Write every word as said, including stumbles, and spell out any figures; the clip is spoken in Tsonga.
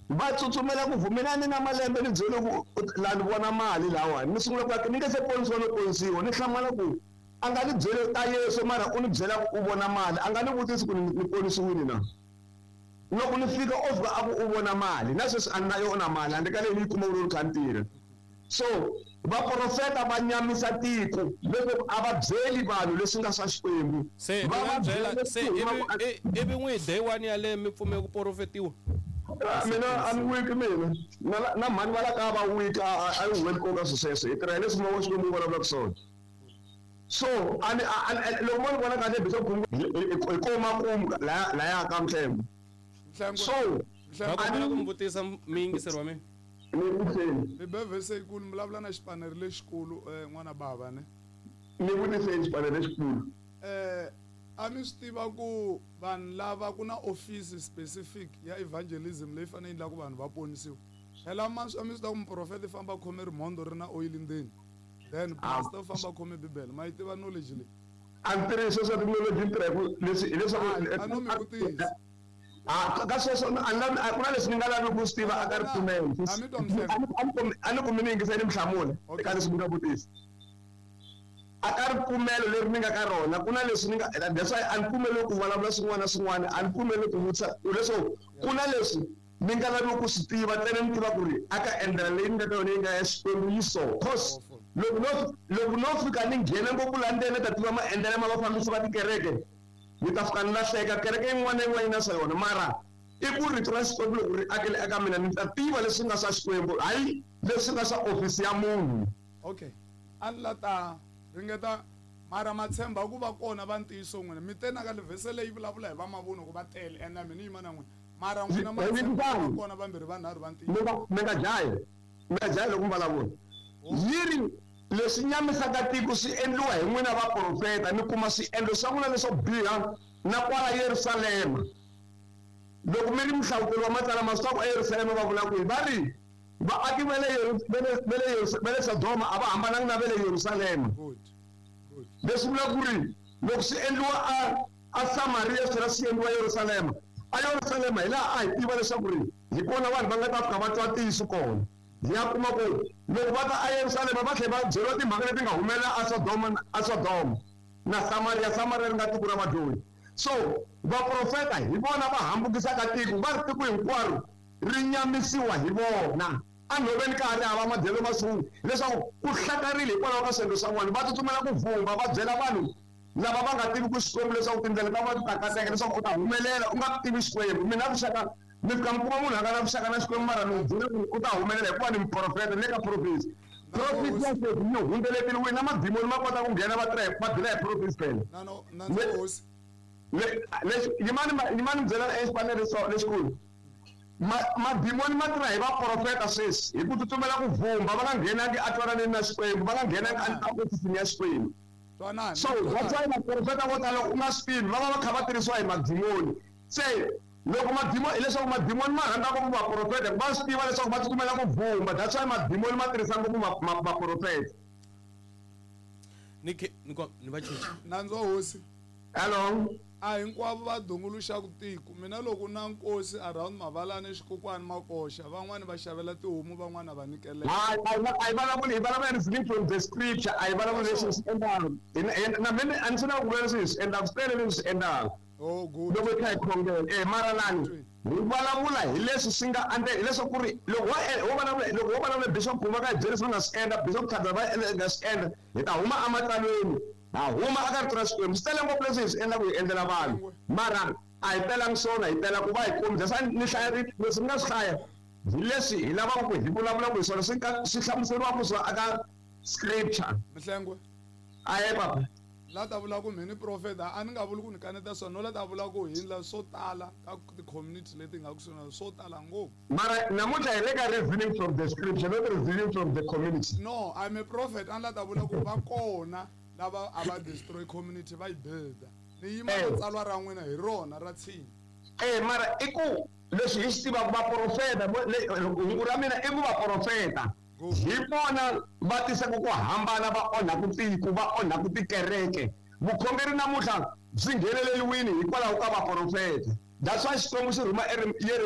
Va tsutsumela ku vhumela ni na malembe ni byele ku la ni vona mali lawani ni sungula ku ni nge se ponisiwa no ponisiwa ni hlamala ku a nga ni byele ta Yesu mara u ni byela ku u vona mali a nga ni vutisi ku ni ponisiwile na loko ni fika o fika a ku u vona mali na sweswi a ni na yona mali handle ka leyi ni yi kuma ku ri kha ni tirha so vaprofeta va nyamisa tiko leswaku a va byeli vanhu leswi nga swa Xikwembu se va va byela se ivi ivi n'wi day one yaleyo mi pfume ku profetiwa mina a ni wiki mina na na mhani va la ka va wiki a yi huweli koka swilo sweswo hi tirha hi leswi moya wa Xikwembu wu vulavulaka swona so a ni loko mo ni vona kahle bishop hi ko makumu laya laya ka Mhlengo so va kombela ku mi vutisa muyingiseri wa mina ni vutiseni mi be vhese yikulu mi vulavula na xipaneri lexikulu n'wana bava ne ni vutiseni xipaneri lexikulu eh a mi swi tiva ku vanhu lava ku na office specific ya evangelism leyi fanele endla ku vanhu va ponisiwa phela ma a mi swi tiva ku muprofeta i famba khome rimhondo ri na oil ndzeni then pastor famba khome bibele ma yi tiva knowledge leyi a ni tirhisa swa ti-knowledge ni tirha hi ku leswi hileswaku a no mi vutisa a ka sweswo a ni lavi ku na leswi ni nga lavi ku swi tiva a ka ripfumelo a ni ku mi ni yingisa ni mi hlamula eka leswi mi nga vutisa a ka ripfumelo leri ni nga ka rona ku na leswi ni nga that's why a ni pfumeli ku vulavula swin'wana na swin'wana a ni pfumeli ku vutisa leswo ku na leswi ni nga lavi ku swi tiva ntsena ni tiva ku ri a ka endlela leyi ni nga ka yona yi nga ya Xikwembu yi so cause loko no loko no fika ni nghena ngopfu laha ndzeni ni ta tiva maendlelo ma vafambisi va tikereke ni ta fika ni lahleka kereke yin'wana na yin'wana yi na swa yona mara i ku rito ra Xikwembu loko ri akele eka mina ni ta tiva leswi nga swa Xikwembu hayi leswi nga swa ofisi ya munhu okay a ni la ta ringeta mara ma tshemba ku va kona va ntiyiso n'wina mi te na ka vhese leyi vulavula hi va mavunwa ku va tele ene mina yima na n'wina mara n'wina ma tshemba ku va kona vambirhi vanharhu va ntiyiso mi nga jahi mi nga jahi loko mi vulavula yi ri leswi nyamisaka tiko swi endliwa hi n'wina vaprofeta ni kuma swiendlo swa n'wina leswo biha na kwala Yerusalema loko mi ri muhlawuteri wa matsalwa ma swi tiva ku eYerusalema va vula kwihi va ri vaaki va le va le Sodoma a va hambananga na va le Yerusalema leswi vulaka ku ri loko swi endliwa a a Samaria swi tlhela swi endliwa Yerusalema a Yerusalema hi laha a hi tiva leswaku ri hi kona vanhu va nga ta fika va twa ntiyiso kona hi ya kuma ku loko va ta eYerusalema va tlhela va byeriwa timhaka leti nga humelela a Sodoma a Sodoma na Samaria Samaria ri nga tiko ra vadyohi so vaprofeta hi vona va hambukisaka tiko va ri tiko hinkwaro ri nyamisiwa hi vona a nhoveni ka ha ri hava madyelo masuku leswaku ku hlakarile hikwalaho ka swiendlo swa vona va tsutsumela ku vumba va byela vanhu lava va nga tivi ku Xikwembu leswaku tindlela ta vona ti ta kateka leswaku u ta humelela u nga tivi Xikwembu mina vuxaka mi fika mi kuma munhu a nga na vuxaka na Xikwembu mara mi byela ku u ta humelela hikuva ni muprofeta ni le ka prophecy prophecy ya sweswi yi hundzeleteliwile na madimoni ma kota ku nghena va tirha va dila hi prophecy phela lexi yimani yimani mi byela exipanele lexikulu madimoni ma tirha hi vaprofeta sweswi hi ku tsutsumela ku vumba va nga nghenangi a twananeni na Xikwembu va nga nghenangi a ofisini ya Xikwembu so that's why vaprofeta vo tala u nga swi tivi va va va kha va tirhisiwa hi madimoni se loko madimoni hileswaku madimoni ma rhandza ngopfu vaprofeta va swi tiva leswaku va tsutsumela ku vumba that's why madimoni ma tirhisa ngopfu vaprofeta ni ni ni va cinca nandzu wa hosi hello a hinkwavo va dunguluxaka tiko mina loko na nkosi around Mavalani Xikokwani Makoxa van'wani va xavela tihomu van'wana va nyikelela hayi a hi vulavuli hi vulavula reasoning from the scripture a hi vulavuli leswi swi endlaka na mina a ni swi lava ku vula leswi hi swi endlaka swi tele leswi swi endlaka oh good loko hi kha hi khongela eh mara lani hi vulavula hi leswi swi nga ande hileswaku ku ri loko wo vulavula loko wo vulavula bishop Guma ka hi byela leswi va nga swi endla bishop Khadza va nga swi endla hi ta huma ematsalweni ha huma aka rito ra Xikwembu swi tele ngopfu leswi hi swi endlaka hi endlela vanhu mara a hi telangi swona hi tela ku va hi kombisa sa ni hlaya leswi ni nga swi hlaya hi leswi hi lavaka ku hi vulavulaka hi swona swi swi hlamuseriwaka swona aka scripture Mhlengwe aye papa la ta vula ku mhini profeta a ni nga vuli ku ni kaneta swona no la ta vula ku hi ndla swo tala ka ti-community leti nga kusuhi na swo tala ngopfu mara namuntlha hi le ka reasoning from the scripture not reasoning from the community no I'm a prophet a ni la ta vula ku va kona lava a va destroy community va yi builda ni yima na tsalwa ra n'wina hi rona ra tshinya eh mara i ku leswi hi swi tivaka vaprofeta hungu ra mina i ku vaprofeta hi vona va tisaka ku hambana va onhaku tiko va onhaku tikereke vukhongeri namuntlha byi ngheneleliwini hikwalaho ka vaprofeta That's why Xikwembu xi rhuma Yeremiya.